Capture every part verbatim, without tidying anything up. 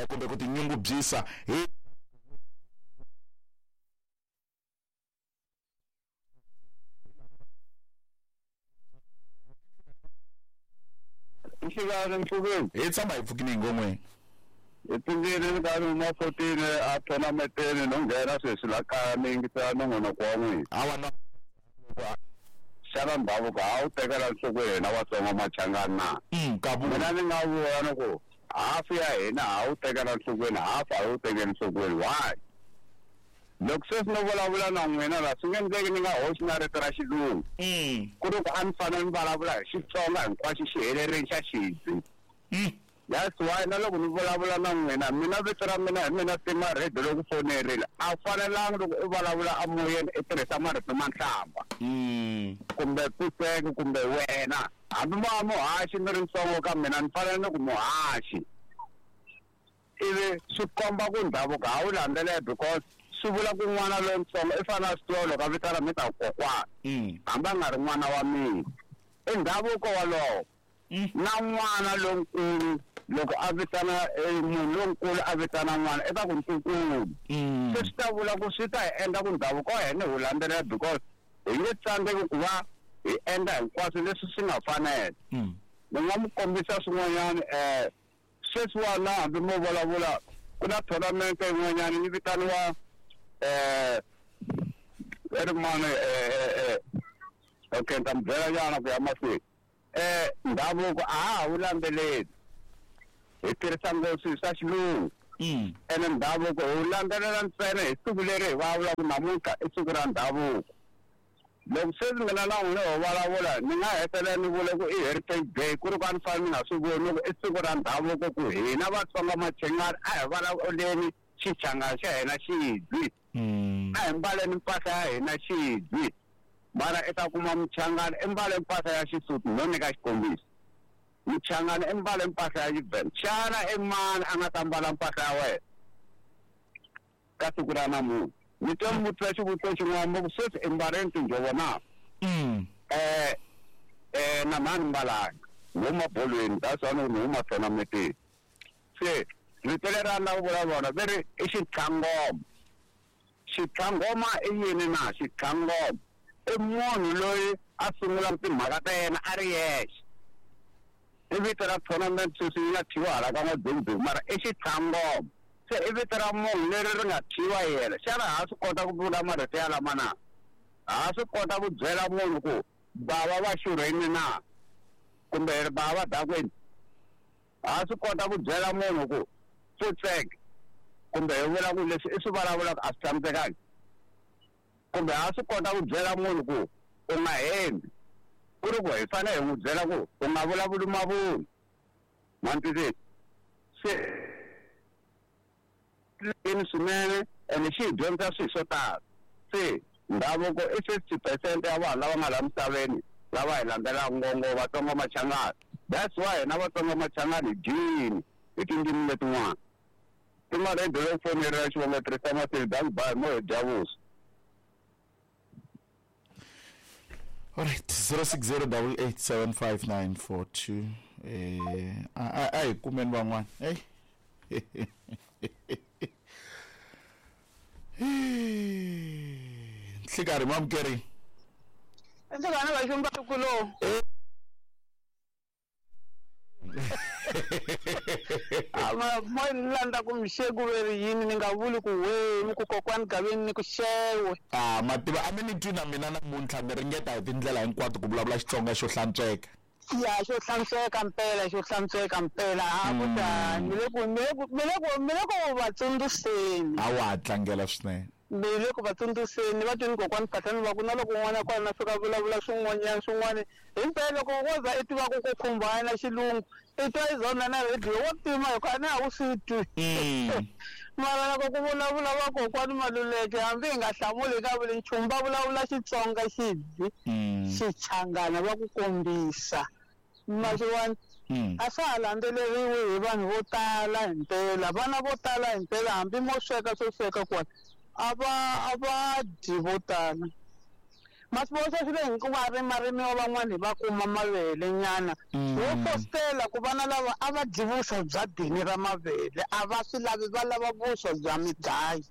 kumbe ku tinyungubyisa hi Nhlekani mpfukeni hi tshama hi pfukini hi ngon'weni hi pfukile ni karhi huma fourteen a tournamenteni no nghena sweswi la kaya ni yingisela nongonoko wa n'wina hawa na xana ndhavuko ha wu tekela nhlokweni hina Vatsonga Machangani na mina ni nga vula ni ku hafu ya hina ha wu tekela nhlokweni hafu a wu tekeli nhlokweni why loko sweswi no vulavula na n'wina la swi nge endleki ni nga hoxi na rito ra xilungu ku ri ku a ni fanele ni vulavula hi Xitsonga hinkwaxo xi helerile xa xidzi that's why na loko ni vulavula na n'wina mina vito ra mina hi mina Tima Radio loko fonerile a wu fanelanga loko u vulavula emoyeni i tirhisa marito ma nhlamba kumbe pfuseke kumbe wena hambi mo va muhaxi ni ri ntsongo ka mina ni fanele ni ku muhaxi ivi swi komba ku ndhavuko ha wu landzelela because swi vula ku n'wana lontsongo i fanele a swi tiva loko a vitana mi ta kokwana hambi a nga ri n'wana wa mina i ndhavuko walowo na n'wana lonkulu loko a vitana munhu lonkulu a vitana n'wana i ta ku ntukulu se swi ta vula ku swi ta hi endla ku ndhavuko wa hina hi wu landzelela because hi nge tsandzeki ku va hi endla hinkwaswo leswi swi nga fanela ni nga mi kombisa swin'wanyana um sweswiwana hambi mo vulavula ku na tournament yin'wanyana yi vitaniwa eh ri mani eh okay ni ta mi byela nyana ku ya mahlweni eh ndhavuko a ha ha wu landzeleli hi tirhisa ngopfu swilo swa xilungu ene ndhavuko hi wu landzelela ntsena hi siku leri hi vulavulaka namuntlha i siku ra ndhavuko loko sweswi mina na n'wina ho vulavula ni nga hetelela ni vule ku i heritage day ku ri ku a ni fanele ni nga swi voni ku i siku ra ndhavuko ku hina Vatsonga Machangani a hi vulavuleni Xichangani xa hina xidzi a hi mbaleni mpahla ya hina xidzi mara i ta kuma Muchangani i mbale mpahla ya Xisuthu no nyika xikombiso Muchangani i mbale mpahla ya Xivenda xana i mani a nga ta mbala mpahla ya wena ka siku ra namuntlha ni twa mi vutisa xivutiso xin'wana mo ku sweswi i mbaleni tinjhovo na eh eh na mani mbalanga ni huma bolweni that's why ni huma tournamenteni se rito leri a ni lava ku vula rona ve ri i xitlhangoma xitlhangoma i yini na xitlhangoma i munhu loyi a sungulaka timhaka ta yena a ri yexe i vito ra tournament sweswi yi nga thyiwa hala ka n'wa mara i xitlhangoma se i vito ra munhu leri ri nga thyiwa yena xana ha swi kota ku vula marito ya lama na ha swi kota ku byela munhu ku bava va xurheni na kumbe bava va dakweni ha swi kota ku byela munhu ku pfutseke kumbe hi vula ku leswi i swi vulavulaka a swi tshamisekangi kumbe ha swi kota ku byela munhu ku u nga hembi ku ri ku hi fanele hi n'wi byela ku u nga vulavuli mavunwa ma ni twisisa se ini swinene ene xi hi dyondzisa swilo swo tala se ndhavuko i fifty percent ya vanhu lava nga laha misaveni lava hi landzelaka ngopfu Vatsonga Machangani that's why hina Vatsonga Machangani hi dyini hi tindzimi letin'wana Tima Radio yo fonerela xivongo tirhisa maseli dank mo hi dya vuswa. All right, zero six zero double eight seven five nine four two. Eh, a a hi kumeni van'wana. Hey. Nhlikari mamukeri. Ndzi vana va xumba kulo. Ama mo landa ku mixeku veri yini ni nga vuli ku we ni ku kokwani gaveni ni ku xewe. Ah, mativa a mi ni twi na mina namuntlha ni ringeta hi tindlela hinkwato ku vulavula Xitsonga xo hlantsweka. Ya xo hlantsweka mpela xo hlantsweka mpela ha ku ta ni le ku ni le ku ni le ku ni le ku va tsundzuxeni. A wa ha tlangela swinene. Ni le ku va tsundzuxeni va twini kokwani Phahlane va ku na loko un'wana kwala na fika vulavula swin'wanyana swin'wana himpela loko wo za i tiva ku ku khumbana na xilungu i twa i zona na radio wo tima hikuva a na ha wu swi twi. Mara loko ku vulavula vakokwani Maluleke hambi hi nga hlamuli hi nga vuli nchumu va vulavula Xitsonga xidzi Xichangana va ku kombisa maxiwani a swa ha landzeleriwi hi vanhu vo tala himpela vana vo tala himpela hambi mo sweka swo sweka kwala a va a va dyi vo tala Masivoxa swi le hikuva rimarimi wa van'wani va kuma mavele nyana. Wo fostela ku vana lava a va dyi vuswa bya dini ra mavele a va swi lavi va lava vuswa bya midzayi.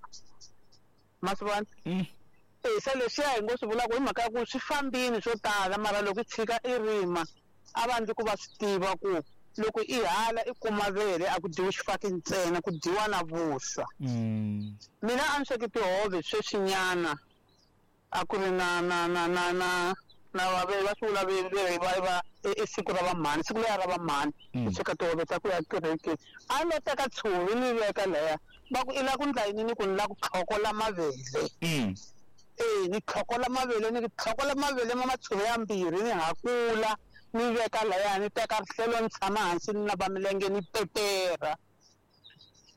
Masivona? Eh se leswiya hi ngo swi vulaka hi mhaka ya ku swi fambini swo tala mara loko i tshika i rima a va ndzi ku va swi tiva ku loko i hala i kuma vele a ku dyiwi xifaki ntsena ku dyiwa na vuswa. Mina a ni sweki tihove sweswinyana a ku ri na na na na na na va va swi vula va va i siku ra vamhani siku leri ra vamhani ku sweka tihove ta ku ya kerekeni a ni lo teka tshuvi ni veka laya va ku i la ku ndla yini ni ku ni la ku tlhokola mavele. Eh ni tlhokola mavele ni tlhokola mavele ma matshuvi ya mbirhi ni hakula ni veka laya ni teka rihlelo ni tshama hansi ni nava milenge ni pepera.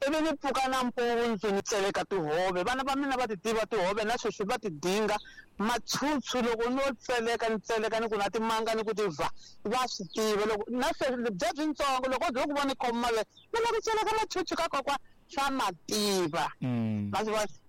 Ivi ni pfuka nampundzu ni tseleka tihove vana va mina va ti tiva tihove na sweswi va ti dinga matshutshu loko no tseleka ni tseleka ni ku na timanga ni ku ti va va swi tiva loko na sweswi bya byintsongo loko byo ku vona khoma mavele ni lava ku tseleka matshutshu ka kokwa swa mativa. Ma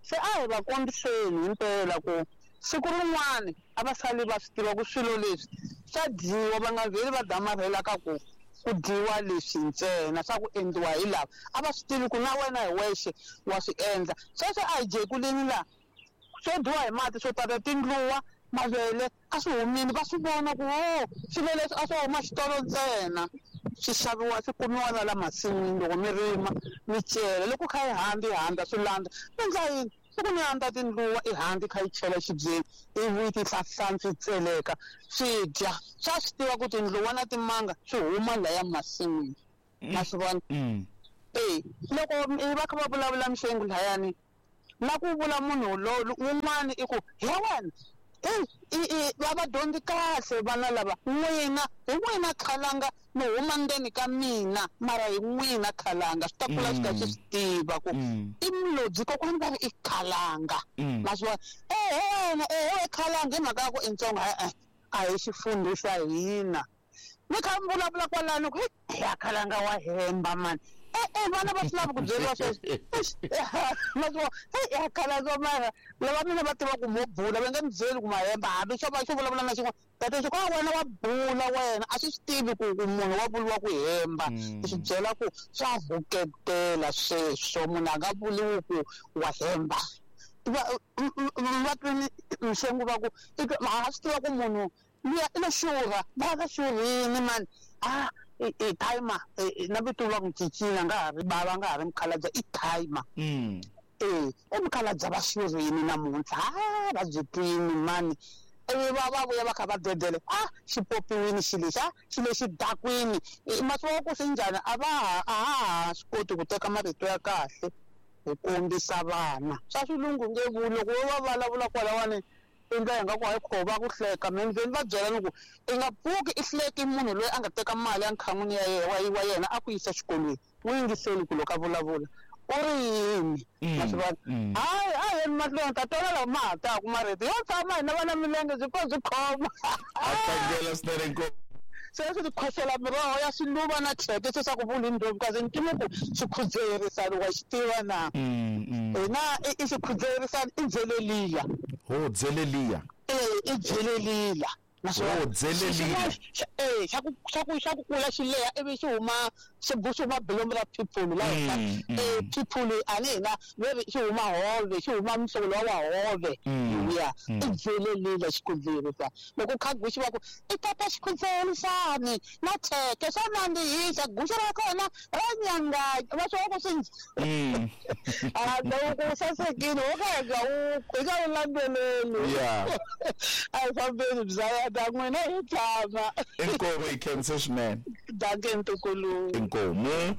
se a hi va kombiseni himpela ku siku rin'wani a va sali va swi tiva ku swilo leswi swa dyiwa va nga vheli va damarhela ka ku ku dyiwa leswi ntsena swa ku endliwa hi lava a va swi tivi ku na wena hi wexe wa swi endla sweswo a hi jekuleni laha swo dyiwa hi mati swo tata tindluwa mavele a swi humile va swi vona ku o swilo leswi a swi huma xitolo ntsena swi xaviwa swi kumiwa na la masin'wini loko mi rima mi cela loko kha yi handza yi handza swi landza mi endla yini loko mi handza tindluwa i handza i kha yi chela xibyeni ivi ti hlahlantswa yi tseleka swi dya swa swi tiva ku tindluwa na timanga swi huma laya masin'wini ma swi vona. E loko va kha va vulavula mixengu layani na ku vula munhu lowu wun'wani i ku he wena i va va dyondzi kahle vana lava n'wina hi n'wina khalanga mi huma ndzeni ka mina mara hi n'wina khalanga swi ta kula swi ka swi swi tiva ku i mulodzi kokwani va ri i khalanga ma swi vona ehe wena ehe khalanga hi mhaka ya ku i ntsongo e-e a hi xifundho xa hina ni kha mi vulavula kwalano ku ya khalanga wa hemba mani e-e vana va swi lavi ku byeriwa sweswo ma swi vona ya khalanga mara lava mina va tiva ku mo bula va nge mi byeli ku ma hemba hambi xo va xo vulavula na xin'wana tata xo ka wena wa bula wena a swi swi tivi ku ku munhu wa vuriwa ku hemba i swi byela ku swa vuketela sweswo munhu a nga vuriwi ku wa hemba va va twini mixengu va ku a swi tiva ku munhu luya i lo xurha va va xurhini mani a i timer na vito va ku cincile nga ha ri bava nga ha ri mukhalabye i timer. Eh i mukhalabye va xurhini namuntlha a va byi twini mani ivi va va vuya va kha va dedele a xi popiwini xi lexi a xi lexi dakwini masiku wa ku swi njhani a va ha a ha swi koti ku teka marito ya kahle hi kombisa vana swa swilungu nge vuli loko vo va vulavula kwalawani endla hi nga ku hayi kho va ku hleka menzeni va byela ni ku i nga pfuki i hleki munhu loyi a nga teka mali ya nkhan'wini ya yena wa yena a ku yisa xikolweni n'wi yingiseli ku loko a vulavula u ri yini ma swi vona hayi a yeni mahlweni ta twana lawa ma ha taku marito yo tshama hina vana milenge byi pfa byi khoma a tlangela swinene inkomu sweswi ti khosela miroho ya swiluva na thyeke se swa ku vula indlovukazi ni tiva ku xikhudzherisani wa xi tiva na hina i xikhudzherisani i dzeleliya ho dzeleliya e i dzelelila ho dzelelila e xa ku xa ku xa ku kula xi leha ivi xi huma xi xi huma bilomu ra phiphulu la henhla e phiphulu a ni hina veri xi huma hove xi huma muhlovo lowa wa hove ya i dzelelila xikhudzherisa loko kha guxi va ku i tata xikhudzherisani na thyeke swa nandzihisa guxi ra kona ra nyanganya va swi ku swi a loko u sasekile wo ka hi nga wu hi nga wu landzeleli a hi fambeni bya ta n'wina hi tshama inkomu hi khensa swinene danke ntukulu inkomu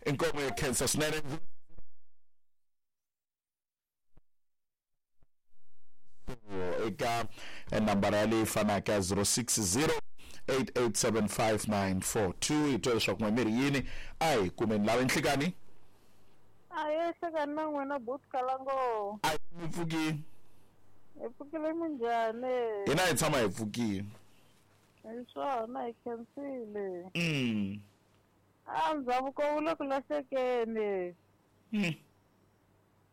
inkomu hi khensa swinene eka nambara leyi fanaka zero six zero eight eight seven five nine four two hi twa leswaku n'we mi ri yini a hi kumeni lava nhlikani a hi hlekani na n'wina bot kalango a mi pfukini hi pfukile minjhani hina hi tshama hi pfukile hi swona hi khensile mm a ndhavuko wu le ku lahlekeni mm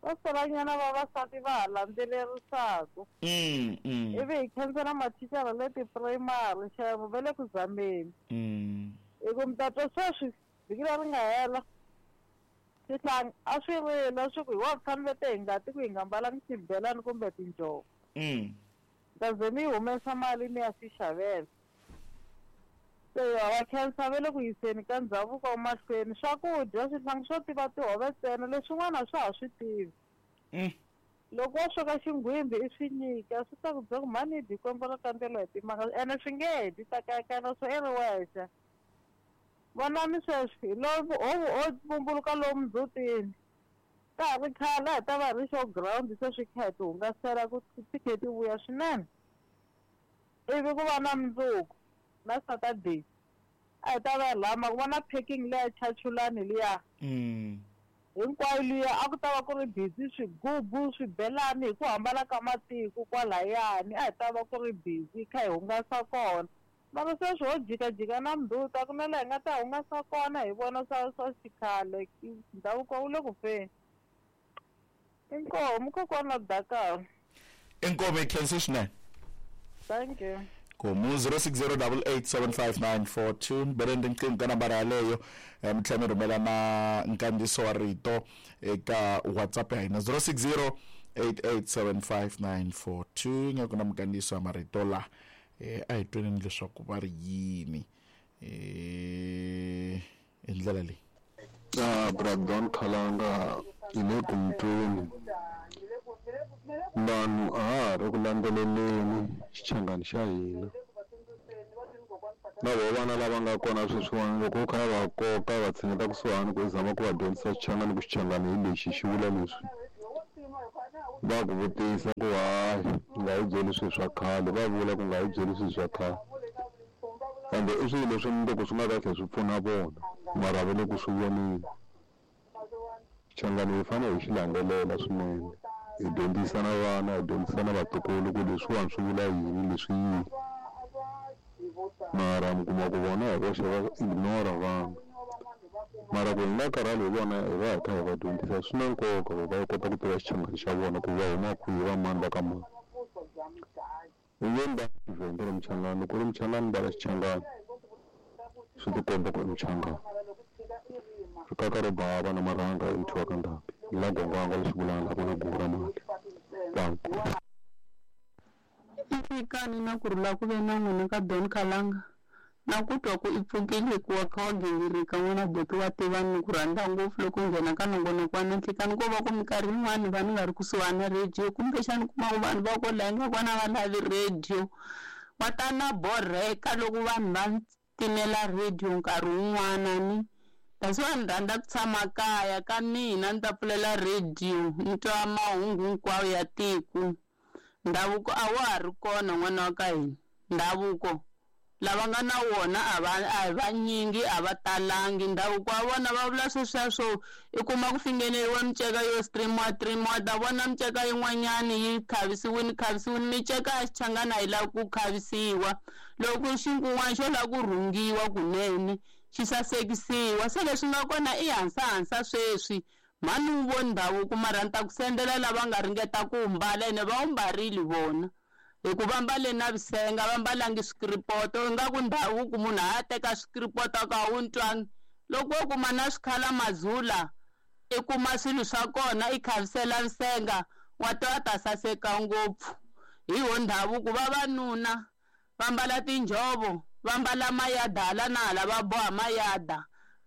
Va solanyana vavasati va ha landzelerisaka. Mm, mm. Ivi hi khensa na mathicara le ti-primary xavo va le ku zameni. Mm. Hi ku mi ta twa sweswi vhiki leri nga hela xihlangi a swi rila swi ku hi wa fanele te hi ngati ku hi nga mbalangi xibelani kumbe tinjhovo. Mm. Ta ze mi humesa mali mi ya swi xavela. Se va khensa va le ku yiseni ka ndhavuko mahlweni. Swakudya swihlangi swo tiva tihove ntsena leswin'wana a swa ha swi tivi. Mm. Loko wo sweka xinghwimbi i swi nyika swi ta ku byela ku mhani dyi kwembu ra kandzelo hi timanga ene swi nge dyi ta kayakana swo i ri wexe. Vonani sweswi hi lowu ho vumbuluka lomu ndzhutini. Ka ha ri khale a hi ta va hi ri show ground se swi kha hi ti hungasela ku ti khe ti vuya swinene. Ivi ku va na mundzuku na Saturday a hi ta va hi lama ku va na packing leya chachulani liya. Mm. Hinkwayo liya a ku ta va ku ri busy swigubu swibelani hi ku hambana ka matiko kwalayani a hi ta va ku ri busy kha hi hungasa kona. Mara sweswi ho jikajika na mnduta a ku na laha hi nga ta hungasa kona hi vona swa swa xikhale ndhavuko wu le ku feni. Inkomu kokwana Dakar. Inkomu hi khensa swinene. Thank you. Komu zero six zero double eight seven five nine four two bereni riqingho ka nambara yaleyo mi tlhela mi rhumela na nkandziyiso wa rito eka WhatsApp ya hina zero six zero eight eight seven five nine four two nga ku na minkandziyiso ya marito la eh a hi tweneni leswaku va ri yini eh hi ndlela leyi. Ah, Brandon Khalanga hi le ku mutweni. Vanhu a ha ha ri ku landzeleleni xichangani xa hina. Na voho vana lava nga kona sweswiwani loko u kha va koka va tshineta kusuhani ku zama ku va dyondzisa xichangani ku xichangani hi lexi xi vula leswi. Va ku vutisa ku hayi u nga hi byeli swilo swa khale, va vula ku nga hi byeli swilo swa khale. Kambe i swilo leswi mundzuku swi nga ta tlhela swi pfuna vona mara va le ku swi voneni. Xichangani hi fanele hi xi landzelela swinene. Hi dyondzisa na vana, hi dyondzisa na vatukulu ku leswiwani swi vula yini leswi yini. Mara mi kuma ku vona hi voxe va ignore vanhu. Mara ku hi nga karhali hi vona hi va hi kha hi va dyondzisa swi na nkoka ku va kota ku tiva xichangani xa vona ku va huma kwihi va mani va ka mani. I nge mbali Xivhenda ri muchangani, loko u ri muchangani mbala xichangani swi tikomba ku i muchangani. Rikaka ro bava na marhanga i muthu wa ka ndhambi. La gongwanga lexi vulanga ku na gugu ra mali. Danko. Nhlikani na ku rhula ku ve na n'wina ka Don Khalanga. Na ku twa ku i pfukile hikuva kha wa gingirika n'wina buti wa tiva ni ku rhandza ngopfu loko nghena ka nongonoko wa na nhlikani ko va ku minkarhi yin'wani va ni nga ri kusuhani na radio kumbexani kuma ku vanhu va ko laha nga kona va lavi radio. Va ta na borheka loko vanhu va timela radio nkarhi wun'wana ni. That's why ni rhandza ku tshama kaya ka mina ni ta pfulela radio ni twa mahungu hinkwawo ya tiko. Ndhavuko a wa ha ri kona n'wana wa ka hina. Ndhavuko lava nga na wona a va a hi vanyingi a va talangi. Ndhavuko wa vona va vula sweswiya swo i kuma ku fingeneriwa miceka yo streamiwa streamiwa ta vona miceka yin'wanyani yi khavisiwini khavisiwini miceka ya xichangani a yi lavi ku khavisiwa. Loko xinkun'wana xo lava ku rhungiwa kunene xi sasekisiwa. Se leswi nga kona i hansahansa sweswi. Mhani wu voni ndhavuko mara ni ta ku sendela lava nga ringeta ku wu mbala ene va wu mbarile vona. Hikuva mbale na vusenga va mbalangi swikiripoto ingaku ndhavuko munhu a ya teka swikiripoto a ka wu ntwangi. Loko wo kuma na swikhala mazula i kuma swilo swa kona i khavisela vusenga wa twa ta saseka ngopfu. Hi wo ndhavuko vavanuna va mbala tinjhovo va mbala mayada hala na hala va boha mayada.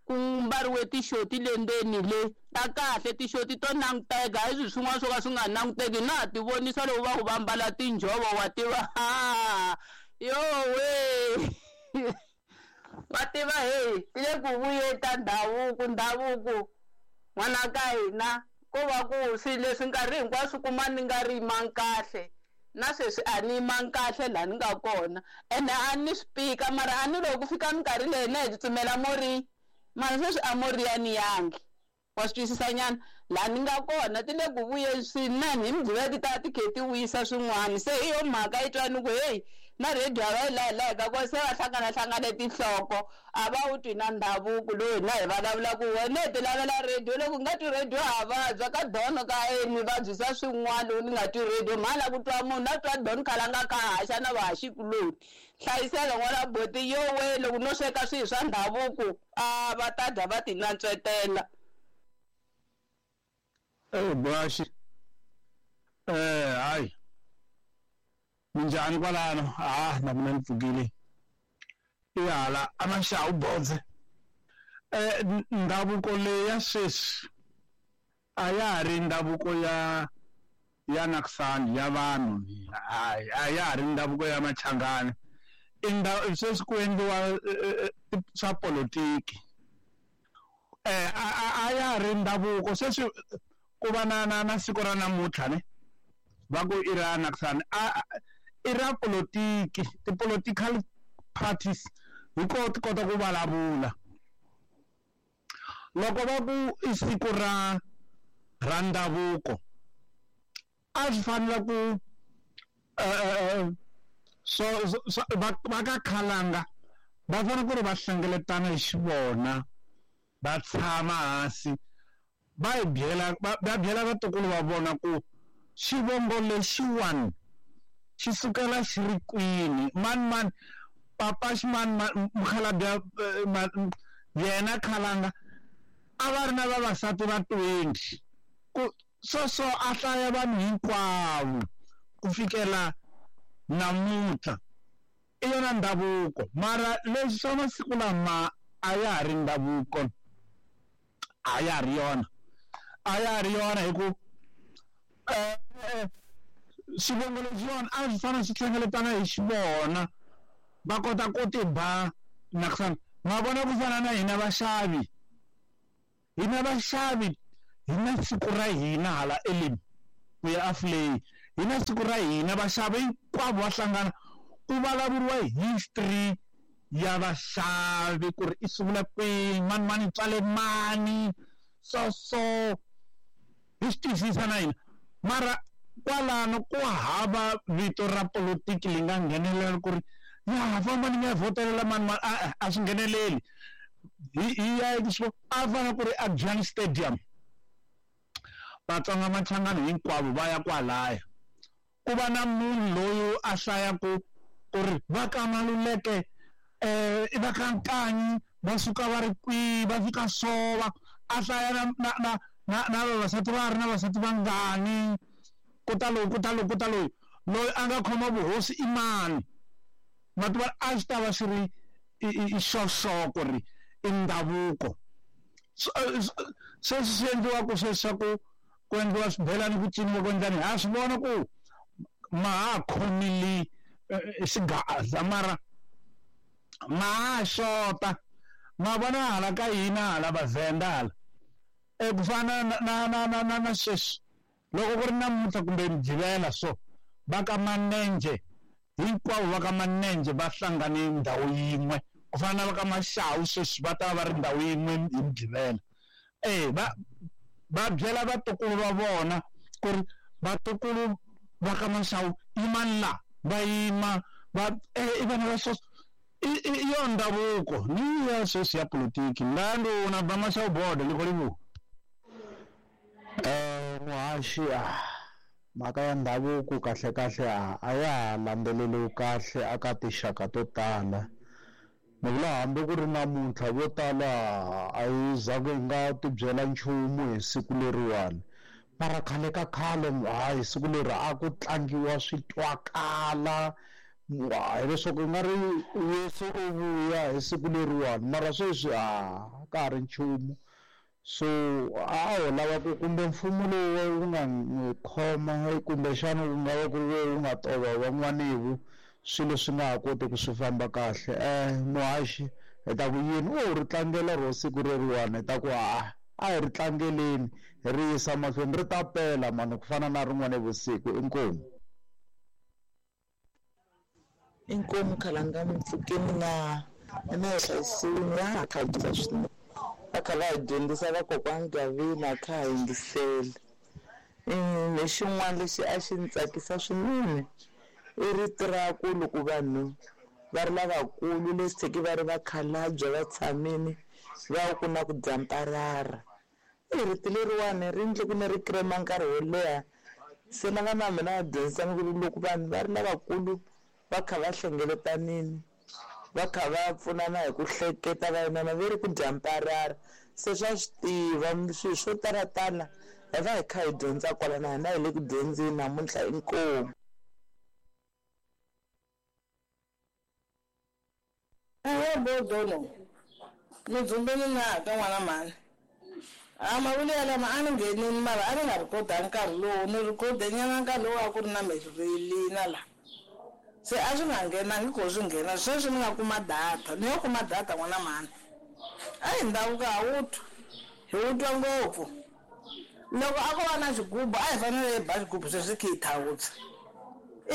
Ku mbariwe tixoti le ndzeni le ta kahle tixoti to languteka hi swilo swin'wana swo ka swi nga languteki na ha ti vonisa loko va ku va mbala tinjhovo wa tiva ha yo we wa tiva he ti le ku vuyeni ta ndhavuko ndhavuko n'wana ka hina ko va ku swilo leswi nkarhi hinkwaswo kuma ni nga ri yimanga kahle. Na sweswi a ni yimanga kahle laha ni nga kona ene a ni swi pika mara a ni loko ku fika minkarhi leyi na hi tsutsumela morini. Mara sweswi a moriyani yangi wa swi twisisa nyana laha ni nga kona ti le ku vuyeni swinene hi mugqivela ti ta ti khe ti vuyisa swin'wana se hi yo mhaka yi twa ni ku heyi Na radio a va yi lahi lahi ka ko se va hlanganahlangane tinhloko a va wu twi na ndhavuko lowu hina hi vulavulaka wena hi ti lavela radio loko u nga twi radio ha vabya ka dono ka eni vabyisa swin'wana loko ni nga twi radio mhani la ku twa munhu a twa dono khalanga ka haxa na vahaxikuloni hlayisela n'wana boti yo we loko no sweka swilo swa ndhavuko a va ta dya va ti nantswetela. Eh Boashi eh hayi minjhani kwalano ah na mina ni pfukile i hala a maxawu bodze eh ndhavuko leyi ya sweswi a ya ha ri ndhavuko ya ya Naksani ya vanhu hayi a ya ha ri ndhavuko ya Machangani i ndhawu sweswi ku endliwa swa politiki eh a ya ha ri ndhavuko sweswi ku va na na na siku ra namuntlha ne va ku i ra Naksani a i ra politiki ti-political parties hi ko ti kota ku vulavula loko va ku i siku ra ra ndhavuko a swi fanele ku so va ka Khalanga va fanele ku ri va hlengeletana hi xivona va tshama hansi va hi byela va byela vatukulu va vona ku xivongo lexiwani xi sukela xi ri kwini mani mani papa ximani mukhalabye yena Khalanga a va ri na vavasati va twenty ku so so a hlaya vanhu hinkwavo ku fikela namuntlha i yona ndhavuko mara leswi swa masiku lama a ya ha ri ndhavuko a ya ha ri yona a ya ha ri yona hi ku xivongo lexiwani a swi fanele swi hlengeletana hi xivona va kota ku ti ba Naksani ma vona ku fana na hina vaxavi hina vaxavi hi na siku ra hina hala Elim ku ya Afley hi na siku ra hina vaxavi hinkwavo va hlangana ku vulavuriwa history ya vaxavi ku ri i sungula kwihi mani mani tswale mani so so hi swi twisisa na hina mara kwalano ku hava vito ra politiki li nga nghenelela ku ri ya famba ni nga votelela mani mani a a swi ngheneleli hi hi ya a fana ku ri a Giant Stadium Vatsonga Machangani hinkwavo va ya kwalaya ku va na munhu loyi a hlayaku ku ri va ka Maluleke eh i va ka Nkanyi va suka va ri kwihi va fika sova a hlaya na na na na na vavasati va ri na vavasati vangani ku ta loyi ku ta loyi ku ta loyi loyi a nga khoma vuhosi i mani mativa a swi ta va swi ri i xoxo ku ri i ndhavuko sweswi swi endliwaka sweswi ku endliwa swibelani ku ciniwa ku endlani ha swi vona ku ma ha khomile xigaza mara ma ha xota ma vona hala ka hina hala Vavhenda hala e ku fana na na na na na sweswi loko ku ri namuntlha kumbe Mugqivela so va ka Manenje hinkwavo va ka Manenje va hlangane ndhawu yin'we ku fana na va ka Maxawu sweswi va ta va ri ndhawu yin'we hi Mugqivela eh va va byela vatukulu va vona ku ri vatukulu va ka Maxawu yimani la va yima va eh i vana va sweswi i yo ndhavuko ni ya sweswi ya politiki ndanduna ba Maxawu bodo ni khou eh muhaxi mhaka ya ndhavuko kahle kahle a ya ha landzeleriwi kahle aka tinxaka to tala ni vula hambi ku ri namuntlha vo tala a yi za ku hi nga ti byela nchumu hi siku leriwani mara khale ka khale hayi siku leri a ku tlangiwa swi twakala hileswaku i nga ri Yesu u vuya hi siku leriwani mara sweswi a ka ha ri nchumu so a ho lava ku kumbe mfumo lowu wu nga n'wi khoma kumbexana wu nga va ku ri wu nga tova van'wanivu swilo swi nga ha koti ku swi famba kahle eh muhaxi hi ta ku yini u ri tlangela ro siku reriwani hi ta ku a a hi ri tlangeleni hi ri yisa mahlweni ri ta pela mani ku fana na rin'wana vusiku inkomu inkomu Khalanga mpfukeni na na hlayisiwini ya ha khabyisa swinene va kha va hi dyondzisa vakokwani Gavina a kha ha yingisela lexin'wana lexi a xi ni tsakisa swinene I rito ra ku loko vanhu va ri lavakulu leswi va ri vakhalabye va tshamile va ku na ku dya mparara. I rito leriwani ri endle ku ni ri krema nkarhi wo leha. Se na vana va mina va dyondzisa ku loko vanhu va ri lavakulu va kha va hlengeletanini va kha va pfunana hi ku hleketa va inana ve ri ku dya mparara. Se swa swi tiva swilo swo talatala hi va hi kha hi dyondza kwala na hina hi le ku dyondzeni namuntlha inkomu. Ewe bodono ni dzumbeni na ka n'wana mhani. A mavuli yalama a ni nghenini mara a ni nga rhikhoda nkarhi lowu ni rhikhode nyana nkarhi lowu a ku ri na mirili na la se a swi nga nghenangi ko swi nghena sweswi ni nga kuma data ni yo kuma data n'wana mhani. A hi ndhavuko ha wu twa hi wu twa ngopfu. Loko a ko va na xigubu a hi fanele hi ba xigubu sweswi khe hi thawutsa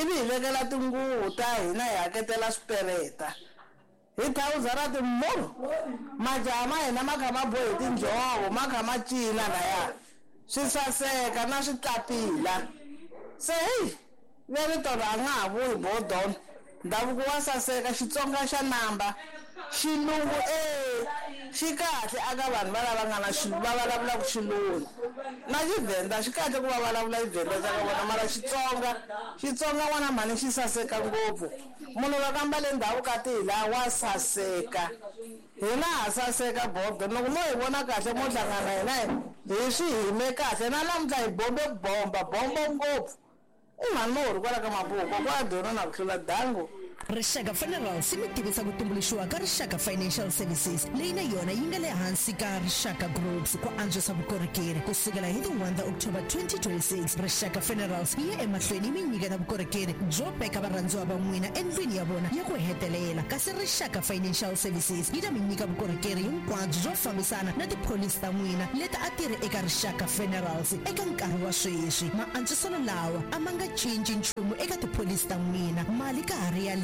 ivi hi vekela tinguvu ta hina hi haketela swipereta hi thawuza ra timurhu majaha ma hina ma kha ma bohe tinjhovo ma kha ma cina laya swi saseka na switlapila. Se heyi ve rito ra nga ha vuyi bodona ndhavuko wa saseka Xitsonga xa namba xilungu e xi kahle aka vanhu va lava nga na va vulavulaka xilungu na Xivhenda xi kahle ku va vulavula Xivhenda xa ka vona mara Xitsonga Xitsonga n'wana mhani xi saseka ngopfu. Munhu loko a mbale ndhavuko a ti hi laha wa saseka hina ha saseka bodo loko mo hi vona kahle mo hlangana hina hi swi hime kahle na namuntlha hi bombe bomba bombo ngopfu. I mhani mo ri kwala ka Mabuku kokwa dyona na ku hlula dangu. Rixaka Funerals yi mi tivisa ku tumbuluxiwa ka Rixaka Financial Services leyi na yona yi nga le hansi ka Rixaka Groups ku antswisa vukorhokeri ku sukela hi ti one ta October twenty twenty-six. Rixaka Funerals yi ya emahlweni yi mi nyiketa vukorhokeri byo veka varhandziwa va n'wina endlwini ya vona ya ku hetelela kasi Rixaka Financial Services yi ta mi nyika vukorhokeri hinkwabyo byo fambisana na tipholisi ta n'wina leti a ti ri eka Rixaka Funerals eka nkarhi wa sweswi. Maantswiselo lawa a ma nga cinci nchumu eka tipholisi ta n'wina mali ka ha ri ya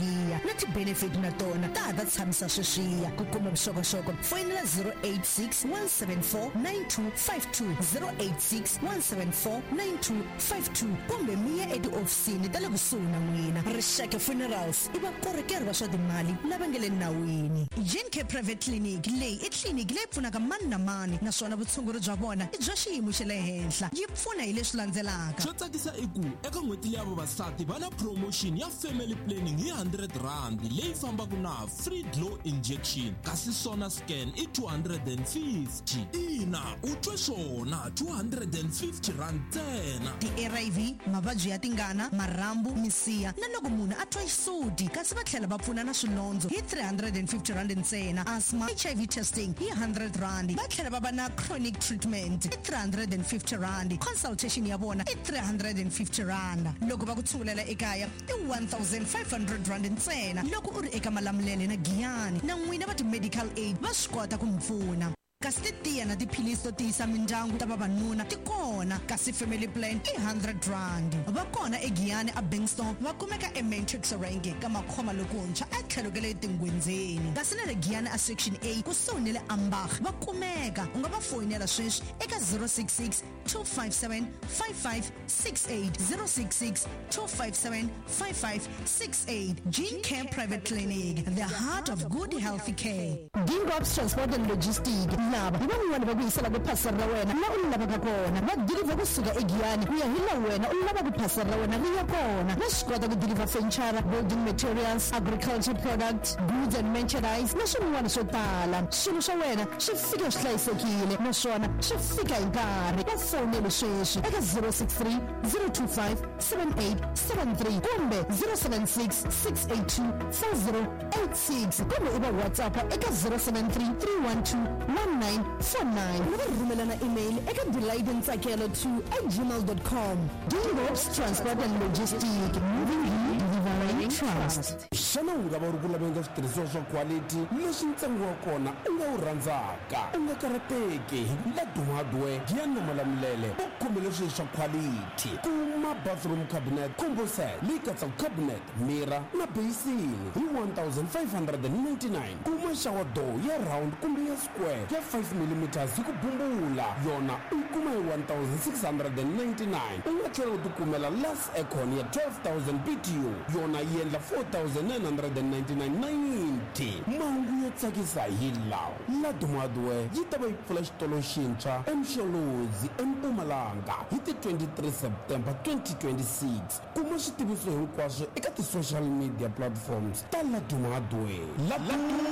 na ti-benefit na tona ta ha ta tshamisa sweswiya. Ku kuma vuxokoxoko foyinela zero eight six one seven four nine two five two zero eight six one seven four nine two five two kumbe mi ya etihofisini ta le kusuhi na n'wina. Rixaka Funerals i vakorhokeri va swa timali lava nga le nawini. G N K Private Clinic leyi i tliliniki leyi pfunaka mani na mani naswona vutshunguri bya vona i bya xiyimo xa le henhla. Yi pfuna hi leswi landzelaka. Xo tsakisa i ku eka n'hweti leya vavasati va na promotion ya family planning hi hundred rand leyi fambaka na free glow injection kasi sona scan i two hundred and fifty. Ina u twe swona two hundred and fifty rand ntsena. Ti-R I V mavabyi ya tingana marhambu misiha na loko munhu a twa xisuti kasi va tlhela va pfuna na swilondzo hi three hundred and fifty rand ntsena. Asthma H I V testing hi hundred rand. Va tlhela va va na chronic treatment i three hundred and fifty rand. Consultation ya vona i three hundred and fifty rand. Loko va ku tshungulela ekaya i one thousand five hundred rand ntsena. Loko u ri eka Malamulele na Giyani na n'wina va ti-medical aid va swi kota ku mi pfuna. Kasi titiya na tiphilisi to tiyisa mindyangu ta vavanuna ti kona kasi family plan i hundred rand. Va kona eGiyani a Bankston va kumeka eMatrix Range ka makhoma lokuntshwa a tlhelo ka le tingwenzeni. Kasi na le Giyani a Section A kusuhi na le Ambach va kumeka. U nga va foyinela sweswi eka zero six six two five seven five five six eight zero six six two five seven five five six eight. Gene Care Private Clinic, the heart of good healthy care. Gingobs Transport and Logistics lava hi van'wani va ku yisela ku phasela ra wena la u lavaka kona. Va deliver kusuka eGiyani ku ya hi la wena u lava ku phasela ra wena ri ya kona. Va swi kota ku deliver furniture, building materials, agriculture products, goods and merchandise na swin'wana swo tala. Swilo swa wena swi fika swi hlayisekile naswona swi fika hi nkarhi. Va fonele sweswi eka zero six three zero two five seven eight seven three kumbe zero seven six six eight two four zero eight six kumbe u va WhatsApp eka zero seven three three one two one nine four nine. U va rhumela na email eka delightintsakelo two at gmail dot com. Gingobs Transport and Logistics, moving you, delivering trust. Xana u nga va u ri ku laveni ka switirhisiwa swa quality leswi ntsengo wa kona u nga wu rhandzaka? U nga karhateki hi Laduma Hardware Giyani na Malamulele va khomele swilo swa quality. Kuma bathroom cabinet combo set leyi katsaka cabinet, mirror na basin hi one thousand five hundred and ninety-nine. Kuma shower door ya round kumbe ya square ya five millimeters hi ku bumbula, yona u yi kuma hi one thousand six hundred and ninety-nine. U nga tlhela u tikumela last aircon ya twelve thousand B T U, yona yi endla four thousand nine hundred and ninety-nine ninety. Mahungu yo tsakisa hi lawa: Laduma Hardware yi ta va yi pfula xitolo xintshwa eMsholozi eMpumalanga hi ti twenty-three September twenty twenty-six. Kuma switiviso hinkwaswo eka ti-social media platforms ta Laduma Hardware. Laduma,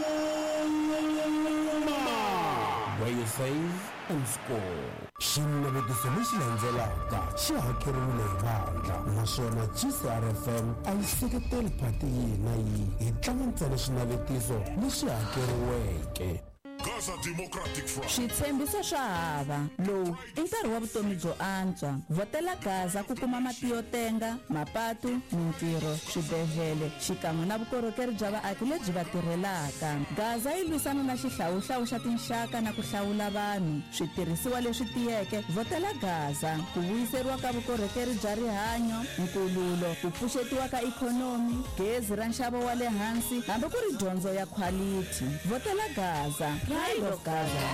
where you save and score. Xinavetiso lexi landzelaka xi hakeriwile hi vandla, naswona G C R F M a yi seketeli phati yihi na yihi. Hi tlanga ntsena xinavetiso lexi hakeriweke. Gaza Democratic Front. Switshembiso swa hava. Lowu i nkarhi wa vutomi byo antswa. Vhotela Gaza ku kuma mati yo tenga, mapatu, mintirho, swibedhlele, xikan'we na vukorhokeri bya vaaki lebyi va tirhelaka. Gaza yi lwisana na xihlawuhlawu xa tinxaka na ku hlawula vanhu. Switirhisiwa leswi tiyeke, vhotela Gaza. Ku vuyiseriwa ka vukorhokeri bya rihanyo, nkululo, ku pfuxetiwa ka ikhonomi, gezi ra nxavo wa le hansi, hambi ku ri dyondzo ya quality. Vhotela Gaza. Pride of Gaza.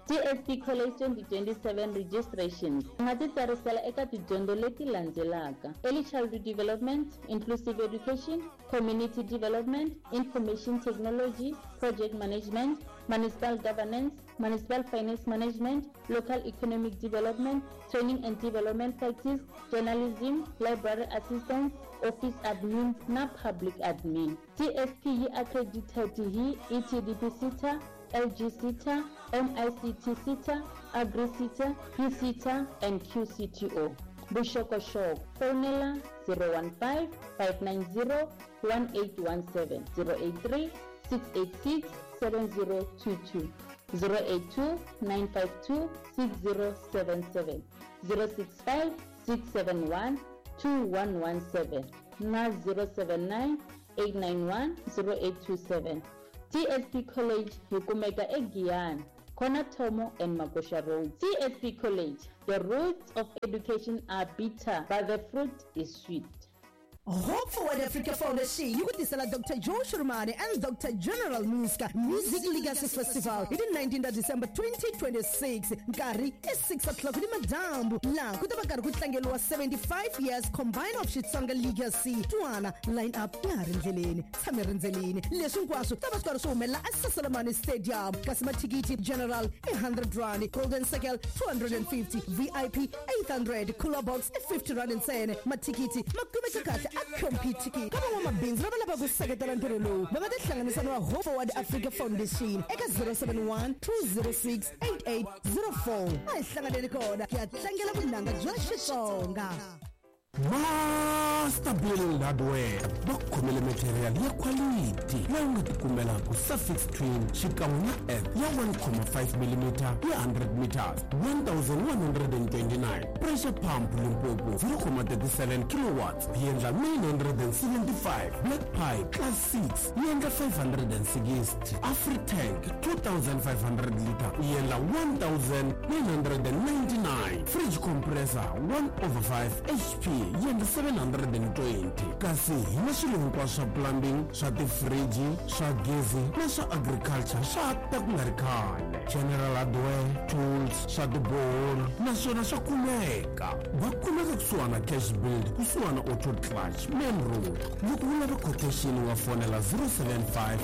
T S P College twenty twenty-seven registrations. U nga titsarisela eka tidyondzo leti landzelaka: Early Childhood Development, Inclusive Education, Community Development, Information Technology, Project Management, Municipal Governance, Municipal Finance Management, Local Economic Development, Training and Development Practice, Journalism, Library Assistance, Office Admin na Public Admin. T S P yi accredited hi E T D P SETA, L G SETA, M I C T SETA, Agri SETA, P SETA and Q C T O. Vuxokoxoko, fonela zero one five, five nine zero, one eight one seven, zero eight three, six eight six, seven zero two two, zero eight two, nine five two, six zero seven seven, zero six five, six seven one, two one one seven na zero seven nine, eight nine one, zero eight two seven. T S P College yi kumeka eGiyani, Corner Thomo and Magosha Road. T S P College, the roots of education are bitter, but the fruit is sweet. Hope Forward Africa Foundation yi ku tisela Doctor Joe Shurmane and Doctor General Muska Music Legacy Festival hi ti nineteen ta December twenty twenty-six. Nkarhi i six o'clock ni madyambu, laha ku ta va karhi ku tlangeriwa seventy-five years combined of Xitsonga Legacy. Twana line up ya ha ri ndleleni, tshame rindzeleni. Leswi hinkwaswo ta va swi karhi swi humelela eSaselamani Stadium. Kasi mathikithi general i hundred rand, golden circle two hundred and fifty, V I P eight hundred, cooler box i fifty rand ntsena. Mathikithi ma kumeka kahle a compete ka van'wamabindzu lava lavaka ku seketela ntirho lowu va nga tihlanganisa na Hope Forward Africa Foundation eka zero seven one, two zero six, eight eight zero four. A hi hlanganeni kona ku ya tlangela vunanga bya Xitsonga. Master Build Hardware va khomele material ya quality leyi u nga tikumelaka suffix twin xikan'we na F ya one comma five millimeter ya hundred meters one thousand one hundred and twenty-nine, pressure pump Limpopo zero comma thirty-seven kilowatts yi endla nine hundred and seventy-five, black pipe class six yi endla five hundred and sixty, Afritank two thousand five hundred liter yi endla one thousand nine hundred and ninety-nine, fridge compressor one over five H P yi endla seven hundred and twenty. Kasi hi na swilo hinkwaswo swa plumbing, swa tifriji, swa gezi na swa agriculture swa ta ku nga ri khale. General hardware, tools, swa tiboholi naswona swa kumeka. Va kumeka kusuhana Cash Build, kusuhana Auto Clutch, Main Road. Loko u lava quotation u nga fonela zero seven five,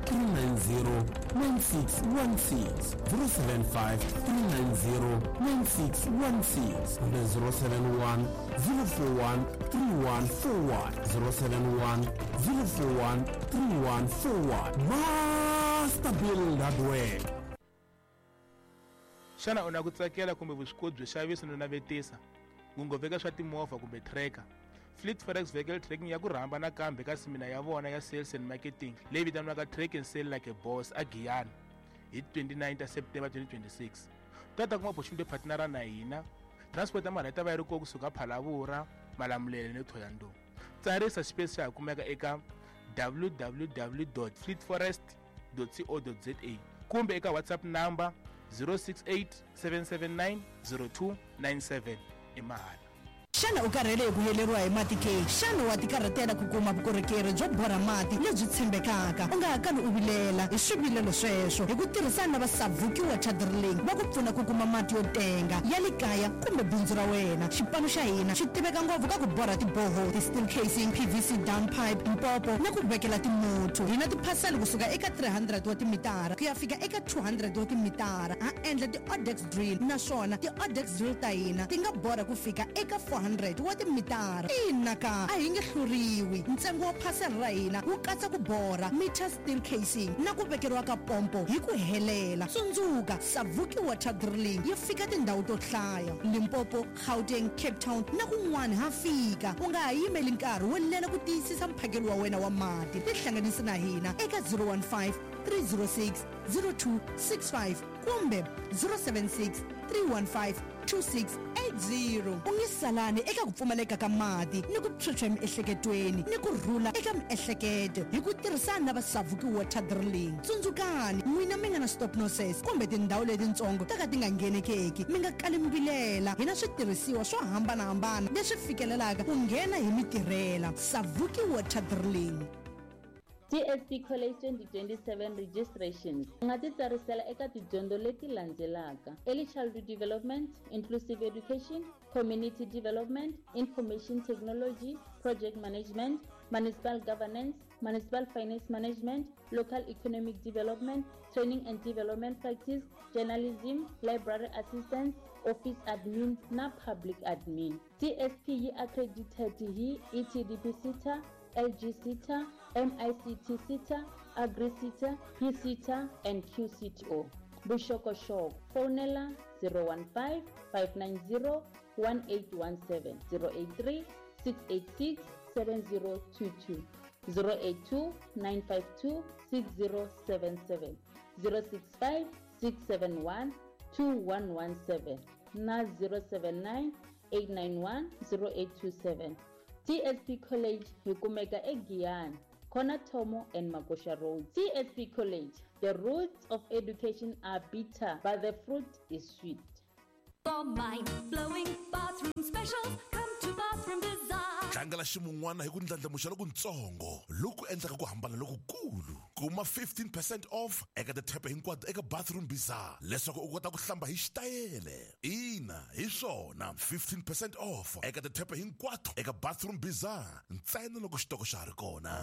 three nine zero, nine six one six, zero seven five, three nine zero, nine six one six, kumbe zero seven one, zero four one, three one four one, zero seven one, zero four one, three one four one. Master Build Hardware. Xana u na ku tsakela kumbe vuswikoti byo xavisa no navetisa, ngopfu swa timovha kumbe tracker? Fleet Forex Vehicle Tracking ya ku rhamba nakambe ka semina ya vona ya Sales and Marketing leyi vitaniwaka Track and Sell Like a Boss a Giyani hi twenty-nine ta September twenty twenty-six. Ta ta kuma opportunity yo partnera na hina, Transport ya mahala yi ta va yi ri kona kusuka Phalavura, Malamulele ni Thohoyandou. Tsarisa xipesi xa ha kumeka eka w w w dot fleetforest dot co dot za kumbe eka WhatsApp number zero six eight seven seven nine zero two nine seven i mahala. Xana u karhele hi ku heleriwa hi mati ke? Xana wa tikarhatela ku kuma vukorhokeri byo borha mati lebyi tshembekaka? U nga ha kali u vilela hi swivilelo sweswo hi ku tirhisana na va Savuki Water Drilling va ku pfuna ku kuma mati yo tenga ya le kaya kumbe bindzu ra wena. Xipano xa hina xi tiveka ngopfu ka ku borha tiboho, ti-steel casing, P V C down pipe, mpopo na ku vekela timuthu. Hi na tiphasela kusuka eka three hundred wa timitara ku ya fika eka two hundred wa timitara. Ha endla ti-Odex drill naswona ti-Odex drill ta hina ti nga borha ku fika eka four hundred wa timitara. Ina ka a hi nge hluriwi. Ntsengo wa phasela ra hina wu katsa ku borha, meter steel casing na ku vekeriwa ka pompo hi ku helela. Tsundzuka, Savuki Water Drilling yi fika tindhawu to hlaya: Limpopo, Gauteng, Cape Town na kun'wana ha fika. U nga ha yimeli nkarhi wo lela ku tiyisisa mphakelo wa wena wa mati. Tihlanganisi na hina eka zero one five three zero six zero two six five kumbe zero seven six three one five two six eight zero. U nge salani eka ku pfumaleka ka mati ni ku phyuphya emiehleketweni ni ku rhula eka miehleketo hi ku tirhisana na va Savuki Water Drilling. Tsundzukani, n'wina mi nga na stop nonsense kumbe tindhawu letitsongo ta ka ti nga nghenekeki, mi nga kali mi vilela. Hi na switirhisiwa swo hambanahambana leswi fikelelaka ku nghena hi mitirhela. Savuki Water Drilling. T S P College twenty twenty-seven registrations. U nga titsarisela eka tidyondzo leti landzelaka: Early Childhood Development, Inclusive Education, Community Development, Information Technology, Project Management, Municipal Governance, Municipal Finance Management, Local Economic Development, Training and Development Practice, Journalism, Library Assistance, Office Admin na Public Admin. T S P yi accredited hi E T D P SETA, L G SETA, M I C T SETA, Agri SETA, P SETA and Q C T O. Vuxokoxoko, fonela zero one five, five nine zero, one eight one seven, zero eight three, six eight six, seven zero two two, zero eight two, nine five two, six zero seven seven, zero six five, six seven one, two one one seven na zero seven nine, eight nine one, zero eight two seven. T S P College hi kumeka eGiyani, Corner Thomo and Makosha Road. T S P College, the roots of education are bitter, but the fruit is sweet. For mind-blowing bathroom specials, come to Bathroom Bazaar. Tlangela ximun'wana hi ku ndlandlamuxa lokutsongo loku endlaka ku hambana lokukulu. Kuma fifteen percent off eka tithepe hinkwato eka Bathroom Bazaar leswaku u kota ku hlamba hi xitayele. Ina, hi swona, fifteen percent off eka tithepe hinkwato eka Bathroom Bazaar ntsena loko xitoko xa ha ri kona.